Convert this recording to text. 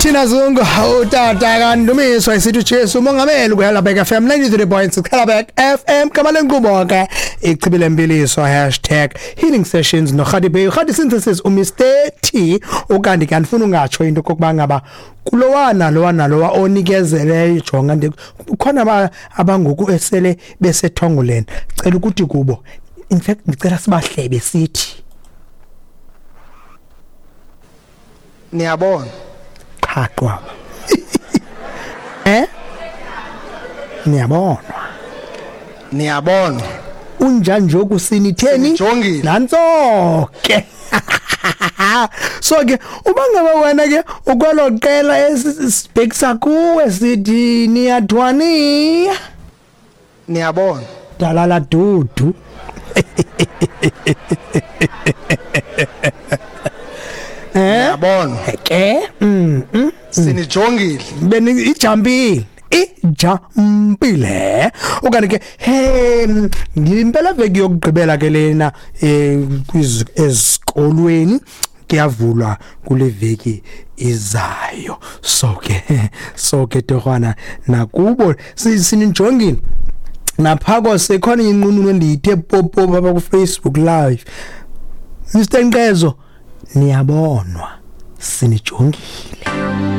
Thina Zungu utata kaNdumiso isithi Jesu umongameli kuHelabek FM 93.6 Helabek FM gama lenkqubo ke ichibile mpiliso #HealingSessions noRhadi Bay Rhadi Synthesis uMr T. Ukanti ke andifuna ungatsho into kokuba ngaba kulowana lowa nalowa onikezeleyo, jonga kukhona abangoku esele besethongoleni, cela ukuthi kubo, in fact ndicela sibahlebe sithi niyabona qha qwaba niyabonwa niyabonwa unjani njoku sinitheni Sinijongile. Nantso ke. So ke uba ngaba wena ke ukwelo qela esibhekisa kuwe sithi niyathwani niyabona dalala dudu. Niyabona Ke sinijongile beni ijumpile ijumpile. Okanye ke he ngimpela veki yokugqibela ke lena ezikolweni kuyavulwa kule veki izayo. So ke torhwana nakubo sinijongile naphako sekhona inqununu endiyithe popo apha ku Facebook Live. Mr Nqezo niyabonwa sinijongile.